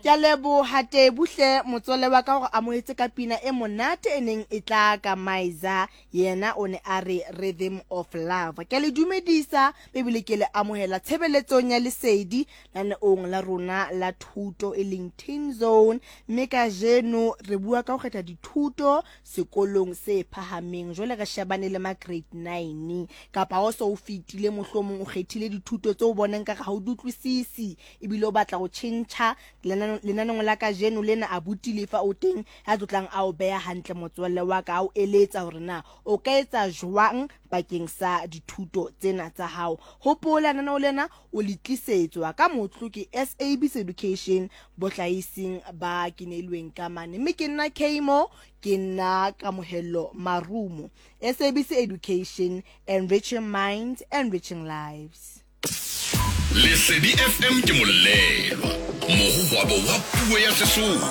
Ke a leboha Tebu hle motswalle wa ka gore amohetse ka pina e monate e neng e tla ka Maiza, yena o ne a re Rhythm of Love. Ke a le dumedisa ebile ke le amohela tshebeletsong ya Lesedi lenaneong la rona la thuto e leng Teen Zone, mme kajeno re bua ka ho kgetha dithuto sekolong se phahameng. Jwale re shebane le ma grade 9 kapa o so o fetile mohlomong o kgethile dithuto tseo o boneng ka ga o di utlwisisi ebile o batla go tšhentšha lenaneong la kajeno lena. Abuti Lefa o teng ya tlotlang a o beha hantle motswalle wa ka, a o eletsa hore na o ka etsa jwang bakeng sa dithuto tsena tsa hao. Hopola lenaneo lena o le tlisetswa ka motlo ke SABC Education bohlahising ba keneilweng ka mane, mme ke nna Kmo, ke nna Kamohelo Marumo. SABC Education, enriching minds, enriching lives. Lesedi FM ke molelwa, mogogwabo wa puo ya Sesotho.